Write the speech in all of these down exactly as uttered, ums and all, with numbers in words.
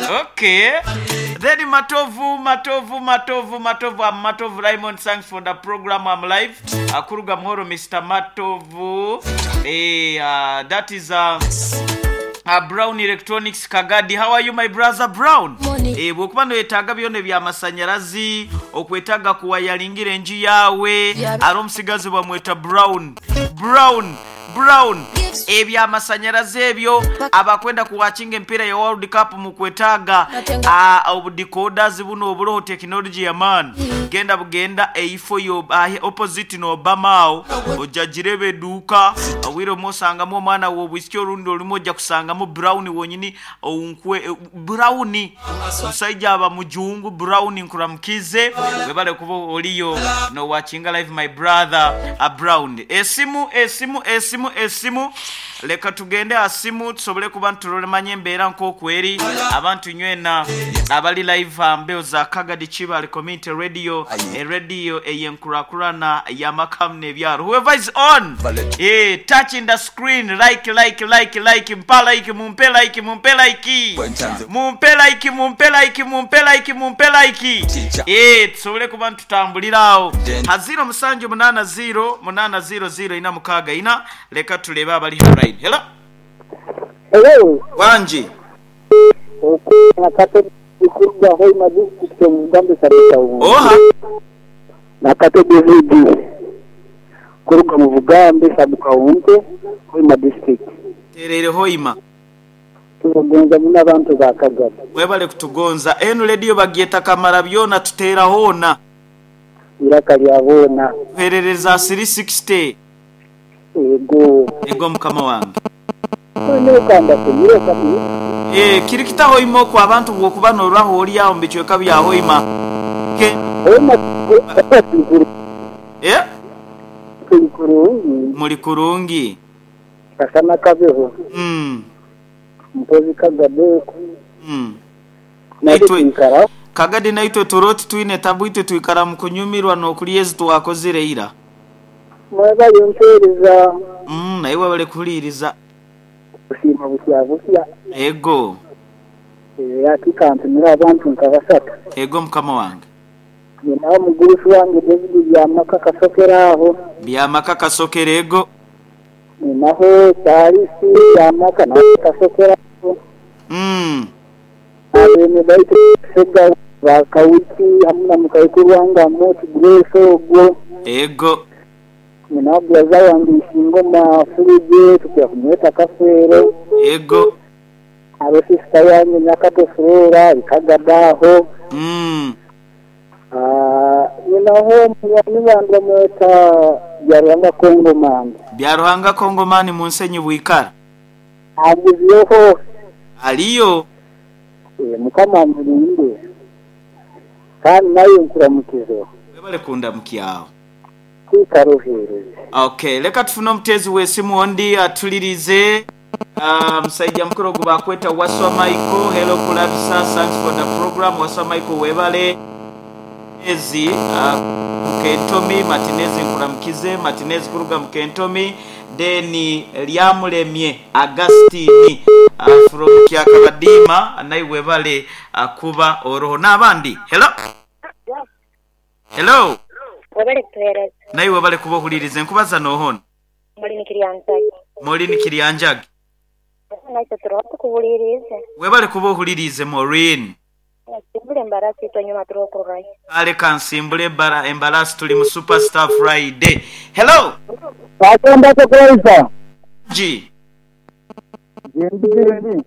Okay. Then Matovu, Matovu, Matovu, Matovu, I'm Matovu Raymond. Thanks for the program. I'm live. Akuruga Mhoro, Mister Matovu. Hey, uh, that is uh, uh, Brown Electronics Kagadi. How are you, my brother Brown? Eh, bwokuba noyetaaga byona eby'amasanyalazi, okwetaaga kuwayalingira enju yaawe, ari omusigazi bamweta Brown. Brown. Brown. Ebyamasanyalazi ebyo abakwenda kuwakinga empiira ya World Cup mukwetaaga obudecodas buno obuloho technology ya man genda bugenda eifo yo uh, opposite no Obama awo ojja girebe eduuka obwire omuosangamu omwana w'obwisiki orundi olimu ojja kusangamu Brown wonyini onkwe Brown omusajja aba mujungu Brown nkuramukize webale kuba oliyo no watching live my brother a Brown. Esimu esimu esimu esimu leka tugende asimu tusobole kuba ntulolemanya embeera nk'okweri abantu nywena abali live mbeo za Kagadi Kibaale Community Radio, e radio eyenkurakurana y'amakamu n'ebyaro. Whoever is on, eh, touching the screen, like like like like mpa like mumpe like mumpe like mumpe like mumpe like mumpe like mumpe like eh, tusobole kuba ntutambulirawo ha zero musanju munana zero munana zero zero ina mukaaga ina. Leka tulebe abali line. Hello. Hello. Wanji. Nakate kuruga Hoima district mu Bugambe Sabita. Oha. Nakate D V D kuruga mu Bugambe Sabukawunte Hoima district. Terere Hoima. Tugonza muna abantu ba Kagadi. Webale kutugonza. Enu radio bagyeta kamara byona tutera hona. Iraka lya bona. Herereza three sixty. Ego. Ego mukama wange. Eh, kirikita Hoima kwa abantu bwokuba norwaho oli awo mbicweka bya Hoima. Ke Eh? Muri kurungi. Kasana kabeho. Mm. Mpozi Kagade. Mm. Naitwe Kagadi naitwe turoti twine tabu itwe twikara mukunyumirwa n'okulyezi twakozire ira. Mwebale mpereza. Mm, naye wabale kuhuliriza. Kusiima busya busya. Ego. Yakikantumira abantu nka basatu. Ego mukama wange. Ninawo mugurusi wange David Byamaka kasokera aho. Byamaka kasokera ego. Ninaho Charisi Byamaka na kasokera aho. Mm. Abene baitu sega bakawiki hamwe na mukayikuru wange Amoti Grace ogwo. Ego. Ninaho byaza wange Isingoma Fulije tukya kumweta kafero. Ego. Abo sister yange Nyakato Flora ikagadaho. Mm. Ah, ninaho munywani wange mweta Byaruhanga Kongomani. Byaruhanga Kongomani munsenyi bwikara. Agizeho. Aliyo. Eh, mukama mulinde. Kandi nayo nkuramukizo. Webale kundamukyawo. Kwikaruhereze. Okay, leka tufune omutezi w'esimu ondi atulirize. Uh, musajja mukulu ogu bakweta Waswa Michael. Hello Kulabisa, thanks for the program. Waswa Michael webale. Ezi uh, Mkentomi Martinez nkuramukize Martinez kuruga Mkentomi. Then Lyamulemye Agustini uh, from Kyakabadima naye webale uh, kuba oroho n'abandi. Hello. Hello. Webale kutuhereza. Naye webale kuba ohulirize nkubaza nohona. Molini Kiryanjagi. Molini Kiryanjagi. Naitwe turoho tukuhulirize. Webale kuba ohulirize Maureen. Nsimbule embarasi itwe nyuma turoho kururayo. Kale kansimbule embara embarasi tuli mu Superstar Friday. Hello. Bagenda kukwaiza. G. Jendi jendi.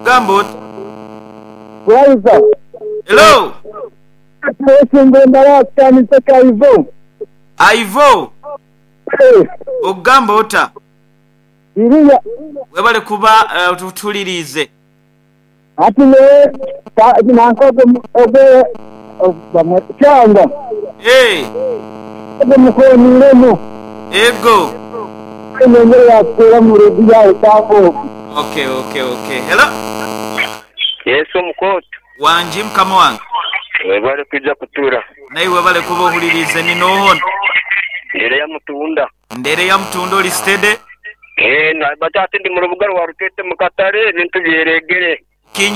Gambo. Kwaiza. Hello. Nsimbule embarasi kaniseka Ivo. Ivo. Hey. Ogamba ota. Iriya. Webale kuba uh, tutulirize. Ati ne nankogo obe bamwe cyangwa. Eh. Obe mukoniremo. Ego. Nengere yakura mu redio yawe cyangwa. Okay, okay, okay. Hello. Yesu mukoto. Wanji mukama wange. Webale kujja kutura. Naye webale kuba ohulirize ni nohona. Ndere ya mutunda. Ndere ya mutunda oli steady. Eh, na batati ndi mu rubuga rwa Rutete mu Katare ebintu byeregere.